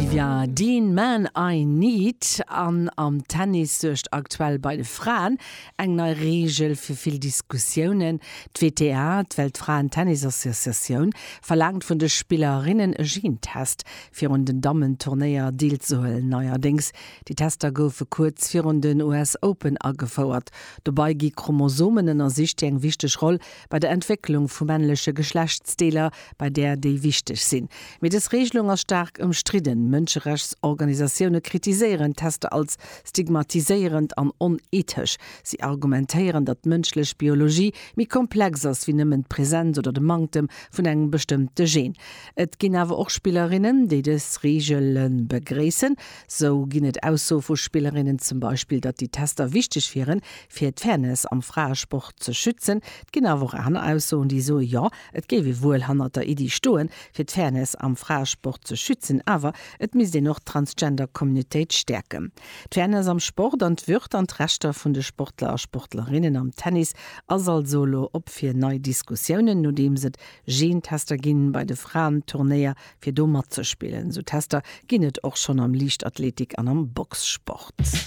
Olivia Dean, Man I Need. An am Tennis suergt aktuell bei de Fraen eng nei Reegel fir vill Diskussiounen. D'WTA, d'Weltfraen-Tennis-Associatioun, verlaangt vun de Spillerinnen e Gentest, fir un den Dammen-Turnéier deelzehuelen. Neierdéngs, déi Tester goufe kuerz virun den US Open agefouert. Dobei gi Chromosomen ënnersicht, déi eng wichteg Roll bei der Entwécklung vu männleche Geschlechtsdeeler, bei där déi wichteg sinn. Mee dës Reegelung ass staark ëmstridden. Mënscherechtsorganisatioune kritiséieren d'Tester als stigmatiséierend an onethesch. Si argumentéieren, datt d'mënschlech Biologie méi komplex ass wéi nëmmen d'Presenz oder de Manktem vun engem bestëmmte Gen. Et ginn awer och Spillerinnen, déi dës Reegele begréissen. Sou ginn et Aussoe vu Spillerinnen, zum Beispill, datt déi Tester wichteg wieren, fir d'Fairness am Fraesport ze schützen. Et ginn awer och aner Aussoen, déi soen, jo, et géif ee wuel hannert der Iddi stoen, fir d'Fairness am Fraesport ze schützen, awer et misst een och d'Transgender-Communautéit stäerken. D'Fairness am Sport an d'Würd an d'Rechter vun de Sportler a Sportlerinnen am Tennis ass also elo op fir nei Diskussiounen, nodeems et Gentester ginn bei de Fraen-Turnéier fir do matzespillen. Esou Tester ginn et och schonn am Liichtathletik an am Boxsport.